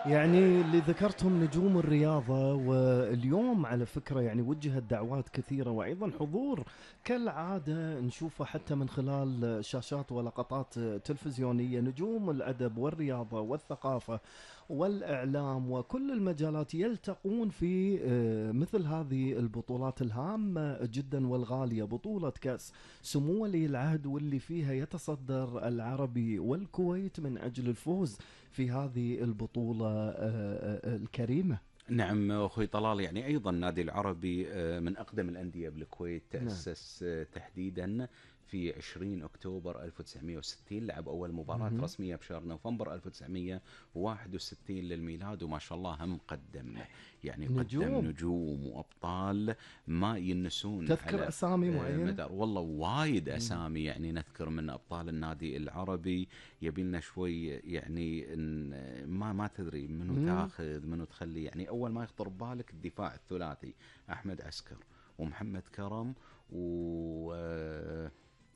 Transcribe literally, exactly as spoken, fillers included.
يعني اللي ذكرتهم نجوم الرياضة، واليوم على فكرة يعني وجهت دعوات كثيرة، وأيضا حضور كالعادة نشوفه حتى من خلال شاشات ولقطات تلفزيونية. نجوم الأدب والرياضة والثقافة والإعلام وكل المجالات يلتقون في آه، مثل هذه البطولات الهامة جدا والغالية. بطولة كأس سمو ولي العهد، واللي فيها يتصدر العربي والكويت من أجل الفوز في هذه البطولة آه، آه، الكريمة. نعم أخوي طلال، يعني أيضا النادي العربي آه، من أقدم الأندية بالكويت، نعم. تأسس آه، تحديدا في عشرين أكتوبر ألف وتسعمائة وستين، لعب أول مباراة مهم. رسمية بشهر نوفمبر ألف وتسعمائة وواحد وستين للميلاد، وما شاء الله هم قدم، يعني قدم نجوم. نجوم وأبطال ما ينسون تذكر على أسامي آه، معينة؟ مدار والله وايد مم. أسامي. يعني نذكر من أبطال النادي العربي، يبي لنا شوي يعني إن- ما ما تدري منو مم. تاخذ منو تخلي. يعني اول ما يخطر ببالك الدفاع الثلاثي: احمد عسكر ومحمد كرم و...